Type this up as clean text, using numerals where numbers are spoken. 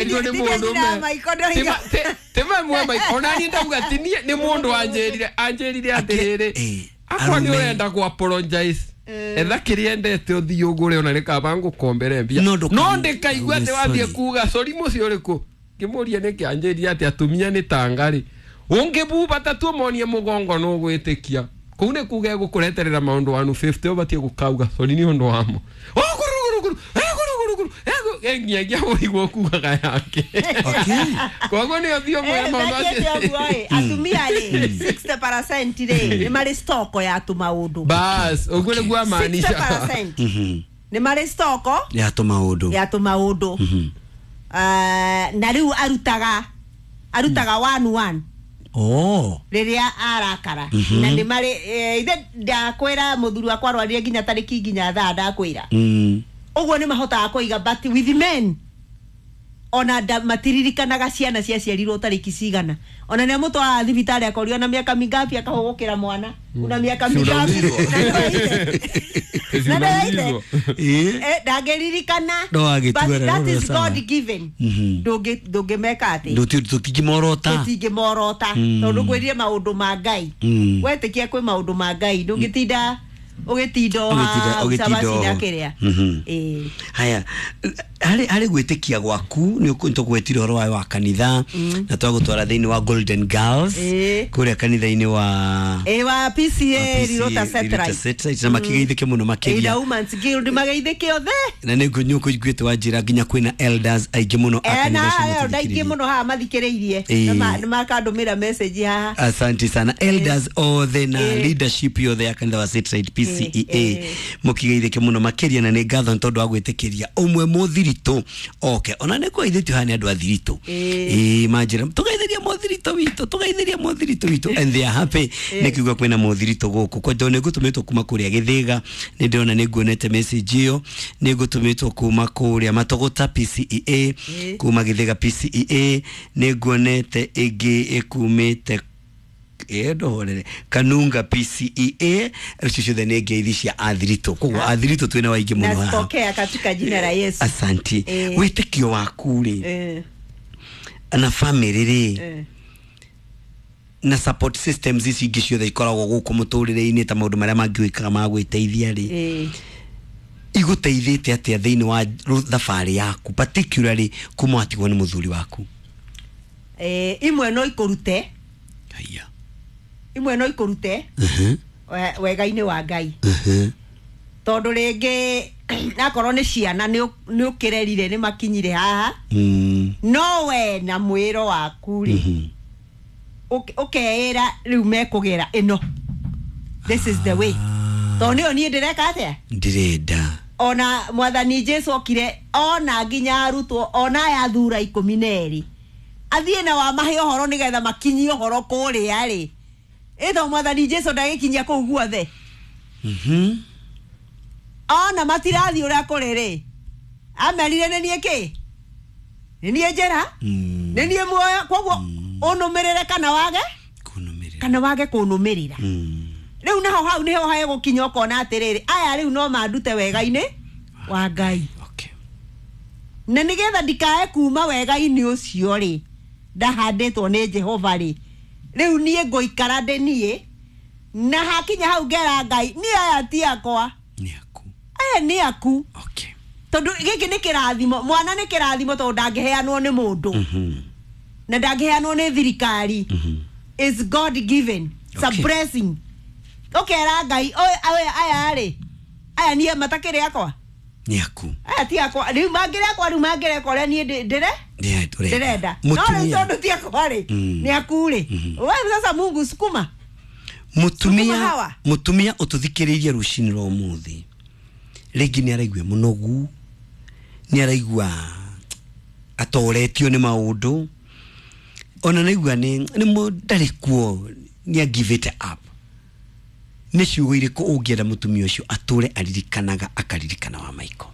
Nĩ mũndũ timamwe onani ndauga ti niĩ nĩ mũndũ anjĩrire atĩrĩrĩ, akwa nĩ ũrenda gũ apologize, etha kĩrĩa endete ũthiĩ ũgũre, ona nĩ kaba ngũkombere mbia, no ndĩkaigua atĩ wathiĩ kuga sorry mũciĩ ũrĩkũ. Ngĩmũria nĩkĩ, anjĩrire atĩ atumia nĩ tangarĩ, ũngĩbuba ta tuomonie mũgongo nũgwĩtĩkia kũu nĩ kuga egũkũreterera maũndũ 150 ũbatiĩ gũkauga sorry nĩ ũndũ wamo nginyagia ũigua kugaga yake. Koguo nĩ ũthiĩ ũmwe maũndũ acio atumia rĩ 60% rĩ nĩ marĩ stoko ya tũmaũndũ. Bas ũguo nĩguo amaanisha 60% nĩ marĩ stoko ya tũmaũndũ, ya tũmaũndũ. Na rĩu arutaga 1-1 rĩrĩa arakara na nĩ marĩ ithe ndakwĩra mũthuri wakwa arwarire nginya tarĩki nginya thaa ndakwĩra ũguo nĩ mahotaga kũiga, but with men ona matiririkanaga ciana ciaciarirwo tarĩki cigana, ona nĩ amũtwaraga thibitarĩ akorio na miaka mingapi akahũgũkĩra mwana una miaka mingapi na ndangĩririkana, but that is God given. Ndũngĩmeka atĩ tũtingĩmorota, tondũ ngwĩrire maũndũ ma Ngai, wetĩkia kwĩ maũndũ ma Ngai ndũngĩtinda ũgĩtinda ũcabacina kĩrĩa. Haya, harĩ gwĩtĩkia gwaku nĩ tũgwetire ũhoro wayo wa kanitha na twagũtwara thĩinĩ wa Golden Girls kũrĩa kanitha-inĩ wa wa PCA Rirota Satellite, na makĩgeithĩke mũno makĩria na Women's Guild mageithĩke othe, na nĩ ngũiguĩte wa njĩra nginya kwĩna elders aingĩ mũno a kanitha ũcio na aingĩ mũno haha mathikĩrĩirie na makandũmĩra message haha. Asante sana elders othe na leadership yothe ya kanitha wa Satellite PCEA mũkĩgeithĩke mũno makĩria, na nĩ ngatho nĩ tondũ wa gwĩtĩkĩria ũmwe mũthiritũ oke, ona nĩ kũgeithĩtio haha nĩ andũ a thiritũ manjĩra tũgeithĩria mũthiritũ witũ, tũgeithĩria mũthiritũ witũ, and they are happy nĩ kiuga kwĩna mũthiritũ gũkũ kwa tondũ nĩ ngũtũmĩtwo kuma kũrĩa Gĩthĩga, nĩ ndĩrona nĩ nguonete message ĩyo, nĩ ngũtũmĩtwo kuma kũrĩa Matũgũta PCEA, kuma Gĩthĩga PCEA, nĩ nguonete ĩngĩ ĩkumĩte ndohorere Kanunga PCEA, icio ciothe nĩ ngeithi cia athiritũ, koguo athiritũ twĩna waingĩ mũno haha. Nazipokea katika jina la Yesu. Asanti. Wĩtĩkio waku rĩ na family rĩ na support systems ici ingĩ ciothe ikoragwo gũkũ mũtũrĩre-inĩ ta maũndũ marĩa mangĩ wĩkaga ma gwĩteithia rĩ, igũteithĩte atĩa thĩinĩ wa thabarĩ yaku particularly kuma watigwo nĩ mũthuri waku? Imwe no ikũrute, imwe no ikũrute wega-inĩ wa Ngai, tondũ rĩngĩ nakorwo nĩ ciana nĩ ũkĩrerire nĩ makinyire haha, no we na mwĩro waku rĩ ũkeĩra rĩu mekũgera ĩno, this is the way, tondũ nĩyo niĩ ndĩreka atĩa, ndĩrenda. Ona mwathani Jesu okire ona nginya arutwo ona aya athura 12 athiĩ na wamahe ũhoro nĩgetha makinyie ũhoro kũrĩa rĩ, ĩto mwathani Jesu ndagĩkinyia kũu guothe. Ona matirathiĩ ũrĩa kũrĩ rĩ, amerire nĩ niĩ kĩ, nĩ niĩ njĩra, nĩ niĩ muoyo, koguo ũnũmĩrĩre kana wage kana wage kũnũmĩrĩra. Rĩu naho hau nĩho hegũkinya ũkona atĩrĩrĩ, aya rĩu no mandute wega-inĩ wa Ngai, na nĩgetha ndikae kuma wega-inĩ ũcio rĩ ndahandĩtwo nĩ Jehova rĩ, rĩu niĩ ngũikara ndĩ niĩ, na hakinya hau ngera Ngai niĩ aya ti akwa, aya nĩ aku, tondũ gĩkĩ nĩ kĩrathimo, mwana nĩ kĩrathimo tondũ ndangĩheanwo nĩ mũndũ na ndangĩheanwo nĩ thirikari, is God given, it's a blessing. Ũkera Ngai aya rĩ, aya niĩ matakĩrĩ akwa, nĩ aku, aya ti akwa, rĩu mangĩrĩ akwa, rĩu mangĩreka ũrĩa niĩ ndĩrenda, no rĩu tondũ ti akwa rĩ nĩ aku rĩ, we sasa Mungu sukuma. Mũtumia ũtũthikĩrĩirie rũcinĩ rwa ũmũthĩ rĩngĩ nĩ araigua mũnogu, nĩ araigua atoretio nĩ maũndũ, ona naigua nĩ ndarĩ kuo, nĩ a give it up, nĩ ciugo irĩkũ ũngĩenda mũtumia ũcio atũre aririkanaga akaririkana wa Michael?